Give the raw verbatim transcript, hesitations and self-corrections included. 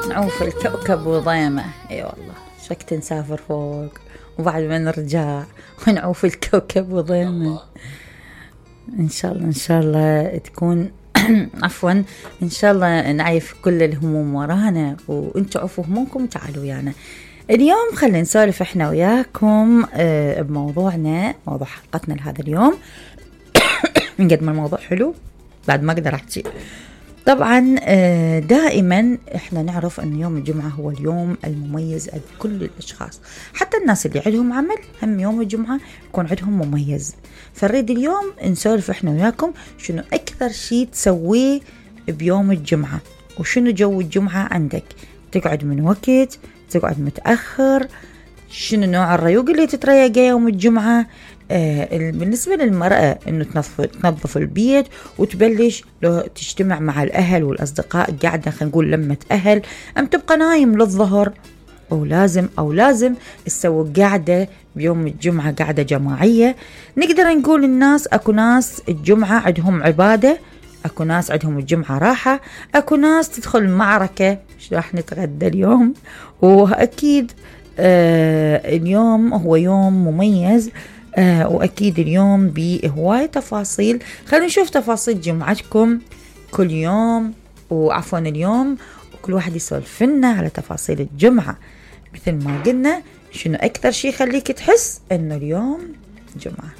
نعوف الكوكب وضيمه. اي والله شكت نسافر فوق وبعد ما نرجع ونعوف الكوكب وضيمه. ان شاء الله ان شاء الله تكون عفوا ان شاء الله نعيف كل الهموم ورانا وانتوا عفوا همومكم وتعالوا ويانا. اليوم خلينا نسولف احنا وياكم اه بموضوعنا، موضوع حلقتنا لهذا اليوم. من قد ما الموضوع حلو بعد ما اقدر احكي. طبعا دائما احنا نعرف ان يوم الجمعة هو اليوم المميز لكل الاشخاص، حتى الناس اللي عندهم عمل هم يوم الجمعة يكون عندهم مميز. فنريد اليوم نسولف احنا وياكم شنو اكثر شيء تسويه بيوم الجمعة، وشنو جو الجمعة عندك. تقعد من وقت، تقعد متأخر، شنو نوع الريوق اللي تتريقه يوم الجمعة. آه بالنسبة للمرأة انه تنظف, تنظف البيت وتبلش لو تجتمع مع الاهل والاصدقاء، قاعدة خلينا نقول لمة اهل، ام تبقى نايم للظهر، او لازم او لازم تسوي قاعدة بيوم الجمعة، قاعدة جماعية. نقدر نقول الناس اكو ناس الجمعة عندهم عبادة، اكو ناس عندهم الجمعة راحة، اكو ناس تدخل معركة شو راح نتغدى اليوم. واكيد آه اليوم هو يوم مميز، آه وأكيد اليوم بهواية تفاصيل. خلينا نشوف تفاصيل جمعتكم كل يوم، وعفوا اليوم وكل واحد يسولف لنا على تفاصيل الجمعة. مثل ما قلنا شنو أكثر شيء يخليك تحس إنه اليوم جمعة.